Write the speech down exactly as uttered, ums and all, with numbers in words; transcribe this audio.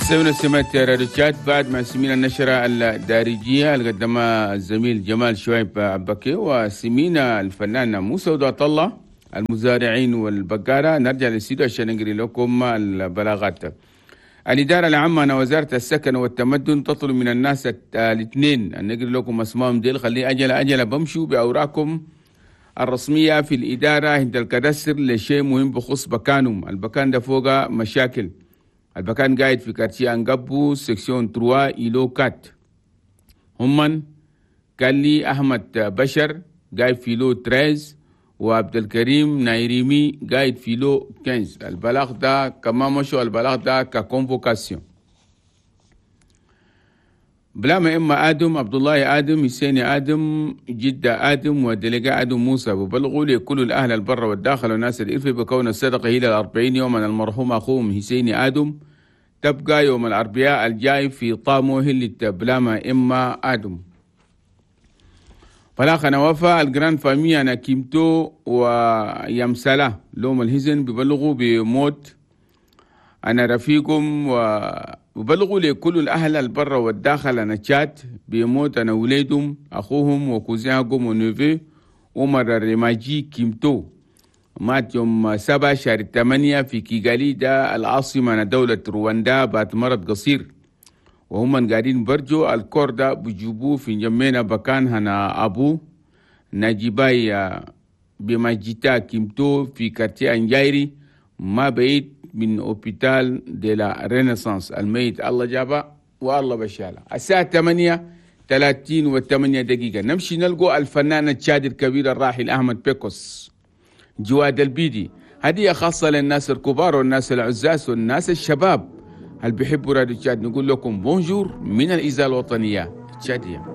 مستمعينا سمعت راديو تشاد بعد ما سمينا النشرة الدارجية اللي قدمها الزميل جمال شويب عبكي وسمينا الفنان موسى ودعت الله المزارعين والبقارة. نرجع للاستديو عشان نقري لكم البلاغات. الإدارة العامة وزارة السكن والتمدن تطلب من الناس الاثنين أن نقري لكم أسمائهم ديل، خليه أجل أجل بمشوا بأوراقكم الرسمية في الإدارة عند ال cadastre لشيء مهم بخص بكانهم. البكان ده فوق مشاكل، البكان قاعد في quartier أنقبو section trois îlot quatre. همن قال لي أحمد بشر قاعد في lot treize، وعبد الكريم نايريمي قاعد في lot quinze. البلاغ ده كمان مشوا البلاغ ده ك convocation. بلاما إما آدم عبد الله آدم حسين آدم جدة آدم و délégué آدم موسى ببلغوا لكل الأهل البر والداخل والناس الإرفي بكون الصدقة إلى الأربعين يوما المرحوم أخوهم حسين آدم تبقى يوم الأربعاء الجاي في طامو هلة بلاما إما آدم. فلاخنا وفا ال grande famille أنا كيمتو ويمسلا لوم الهزن ببلغوا بموت أنا رفيقهم وبلغوا لكل الأهل البر والداخل أنا تشات بموت أنا وليدهم أخوهم و cousin هم و neveu عمر الرماجي كيمتو مات يوم سبعة شهر ثمانية في كيغالي ده العاصمة دولة رواندا بعد مرض قصير. وهم قاعدين برجو ال corps ده بجيبوه في جمينا بكان هنا أبو نجيباي بمجيتا كيمتو في quartier أنجايري ما بعيد من hôpital de la Renaissance. الميت الله جابه والله بشاله. الساعة ثمانية ثلاثين وثمانية دقيقة نمشي نلقوا الفنان التشادي الكبير الراحل أحمد بيكوس جواد البيدي. هدية خاصة للناس الكبار والناس العزاز والناس الشباب اللي بيحبوا راديو تشاد. نقول لكم bonjour من الإذاعة الوطنية التشادية.